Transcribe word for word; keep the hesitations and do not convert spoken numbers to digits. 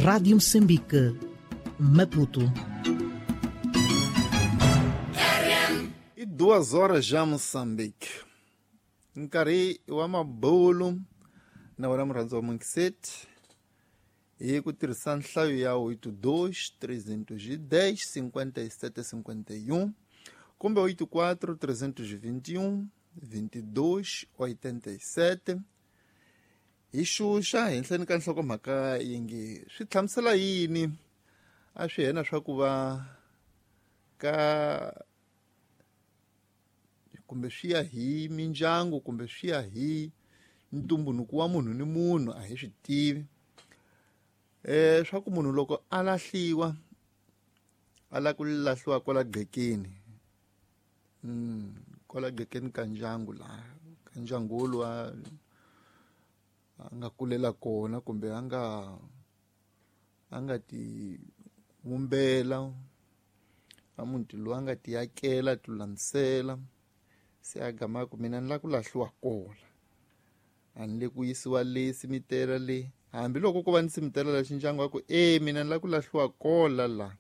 Rádio Moçambique, Maputo. E duas horas já Moçambique. Nkarhi wa mabulu na wena murhandzi wa Monkiseti hi ku tirhisa nhlayo ya oito dois, trezentos e dez, cinquenta e sete, cinquenta e um kumbe oito quatro, trezentos e vinte e um, vinte e dois, oitenta e sete. Hi xuxa henhleni ka nhlokomhaka yi nge swi hlamusela yini a swi hena swa ku va ka kumbe swi ya hi mindyangu kumbe swi ya hi ntumbuluko wa munhu ni munhu a hi swi tivi eh swa ku munhu loko a lahliwa a la ku lahliwa kwala gqekeni mm kwala gqekeni ka ndyangu la ka ndyangu lowa a nga kulela kona kumbe a nga a nga ti vumbela a muti lowu a nga ti akela ti lulamisela se a gama ku mina ni la ku lahliwa kona a ni le ku yisiwa le simitela le hambiloko ko va ni simitela la xindyangu wa ku e mina ni la ku lahliwa kola la